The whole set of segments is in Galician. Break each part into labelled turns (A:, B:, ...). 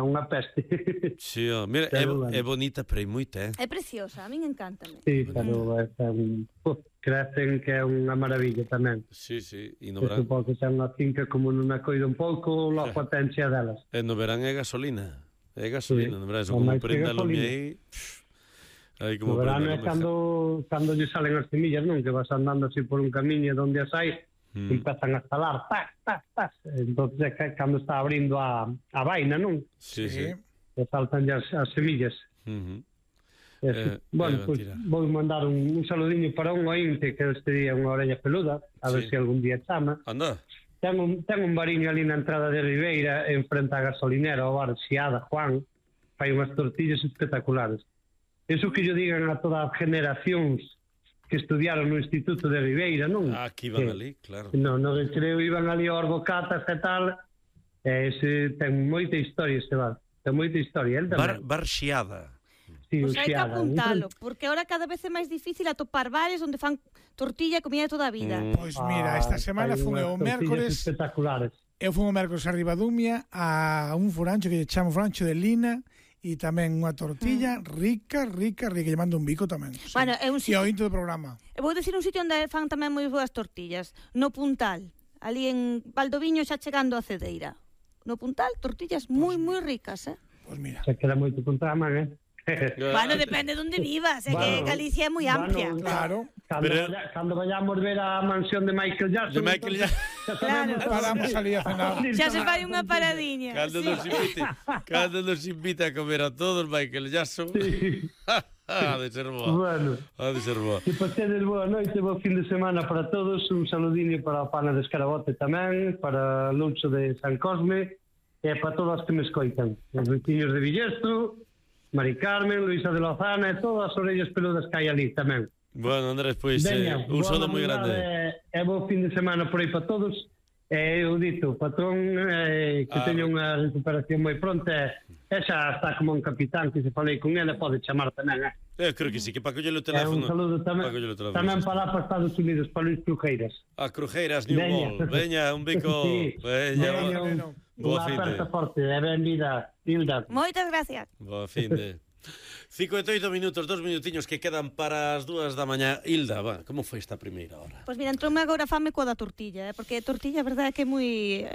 A: unha peste.
B: Sí, mira, é bonita, pero hai moita,
C: É preciosa, a min encántame.
A: Sí, pero crecen que é unha maravilla tamén.
B: Sí, e no
A: verán.
B: verán...
A: Supongo que xa unha finca como non a coida un pouco, la potencia delas.
B: E no verán é gasolina. É gasolina, no verán, eso como prenda lume aí...
A: No verán é cando lle salen as semillas, non? Que vas andando así por un camiño onde as hai, empezan a estalar, tas. Entonces é cando está abrindo a vaina, non?
B: Sí.
A: E saltan as semillas. Bueno, pois vou mandar un saludiño para un ointe que este día unha orella peluda, a ver se algún día chama.
B: Anda.
A: Ten un bariño ali na entrada de Ribeira, en frente á gasolinera, o bar Xiada, Juan, fai unhas tortillas espectaculares. Eso que yo digan a todas as generacións que estudiaron no Instituto de Ribeira, non?
B: Que iban ali, claro.
A: Non, creo iban ali aos bocatas e tal. Ese ten moita historia, ese bar. Ten moita historia, el tamén.
B: Bar Xiada.
A: Sí,
C: Pois hai que apuntalo, porque ahora cada vez é máis difícil atopar bares onde fan tortilla e comida de toda a vida.
D: Pois mira, esta semana fun o mércores.
A: Espectaculares.
D: Eu fun o mércores a Ribadumia a un furancho que lle chamo Furancho de Lina, e tamén unha tortilla rica, lle mando un bico tamén.
C: Bueno, é un sitio...
D: E o into do programa.
C: Vou dicir un sitio onde fan tamén moi boas tortillas, no Puntal, ali en Valdoviño xa chegando a Cedeira. No Puntal, tortillas moi ricas,
D: Pois mira.
A: Se queda moito Puntal,
C: Bueno, depende de onde vivas, é que Galicia é moi amplia.
D: Claro.
A: Cando vayamos ver a mansión de Michael Jackson.
D: Paramos ali a cenar.
C: Xa se fai unha paradiña.
B: Cando nos invita a comer a todos Michael Jackson. Ha de ser boa.
A: Que pasedes boa noite, bo fin de semana para todos. Un saludiño para a Pana de Escarabote tamén, para Lucho de San Cosme e para todos os que me escoitan. Os veciños de Villestro, Mari Carmen, Luisa de Lozana e todas as orellas peludas que hai ali tamén.
B: Bueno, Andrés, pois un saúdo moi grande.
A: E bo fin de semana por aí para todos. Eu dito, patrón, que teña unha recuperación moi pronta e xa está como un capitán que se falei con ele, pode chamar tamén.
B: Eu creo que sí, que para coller o teléfono.
A: Un saludo tamén para lá para Estados Unidos, para Luis Crujeiras.
B: A Crujeiras, New World. Veña, un bico.
A: Veña, unha aperta forte, e ben vida, Hilda.
C: Moitas gracias.
B: Boa fin de... 58 minutos, 2 minutiños que quedan para as 2 da mañá. Hilda, como foi esta primeira hora?
C: Pois mira, entroume agora fame coa da tortilla, porque a tortilla, a verdade, é que é moi...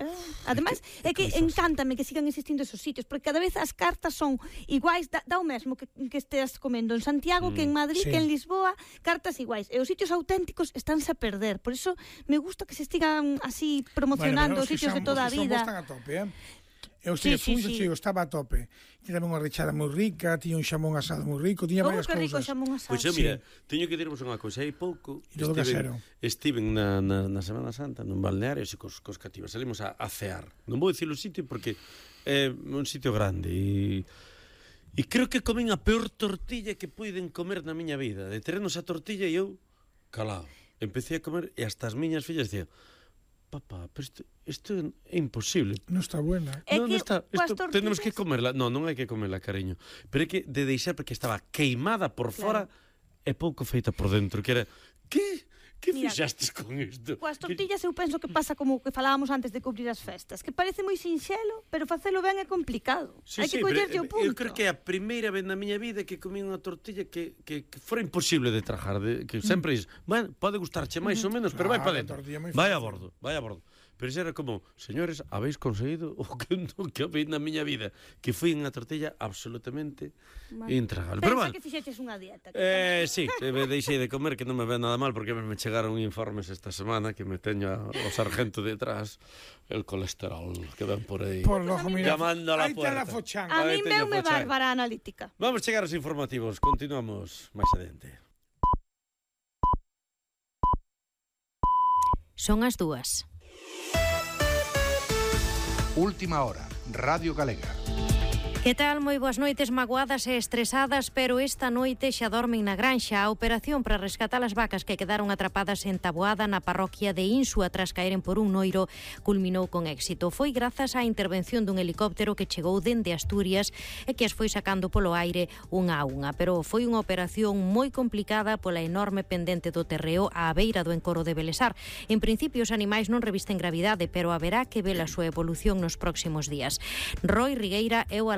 C: Ademais, é que encántame que sigan existindo esos sitios, porque cada vez as cartas son iguais, dá o mesmo que estés comendo en Santiago, que en Madrid, que en Lisboa, cartas iguais. E os sitios auténticos estánse a perder. Por iso me gusta que se estigan así promocionando os sitios de toda a vida.
D: Están a tope, Eu estaba a tope. Tiña tamén unha rechada moi rica, tiña un xamón asado moi rico, tiña varias cousas.
C: Rico xamón asado.
B: Pois mira, teño que dirvos unha cousa, hai pouco estiven na Semana Santa nun balneario e cos cativas, salimos a cear. Non vou dicir o sitio porque é un sitio grande e creo que comen a peor tortilla que puiden comer na miña vida. De terrenos a tortilla e eu calado. Empecé a comer e hasta as miñas fillas decían: papá, pero isto é imposible.
D: Non está buena.
B: Non está, tenemos que comerla. Non hai que comerla, cariño. Pero é que de deixar porque estaba queimada por fora e pouco feita por dentro, que era, que fixastes con isto?
C: Coas tortillas eu penso que pasa como que falábamos antes de cubrir as festas, que parece moi sinxelo, pero facelo ben é complicado. Hai que collerlle o punto.
B: Eu creo que é a primeira vez na miña vida que comí unha tortilla que fora imposible de trajar, que sempre é, bueno, pode gustarche máis ou menos, pero vai para dentro. Vai a bordo. Pero xa era como, señores, habéis conseguido o que habéis na miña vida, que foi unha tortilla absolutamente intragable.
C: Pensa que fixeches unha dieta.
B: Sí, deixei de comer, que non me ve nada mal, porque me chegaron informes esta semana que me teño o sargento detrás, el colesterol que ven por aí llamando a la puerta.
C: A mí me bárbara analítica.
B: Vamos chegar aos informativos, continuamos máis adiante.
E: Son as 2.
F: Última hora, Radio Galega.
E: Que tal? Moi boas noites, magoadas e estresadas, pero esta noite xa dormen na granxa. A operación para rescatar as vacas que quedaron atrapadas en Taboada na parroquia de Insua tras caeren por un noiro culminou con éxito. Foi grazas á intervención dun helicóptero que chegou dende Asturias e que as foi sacando polo aire unha a unha. Pero foi unha operación moi complicada pola enorme pendente do terreo á beira do encoro de Belesar. En principio os animais non revisten gravidade, pero haberá que ver a súa evolución nos próximos días. Roy Rigueira é o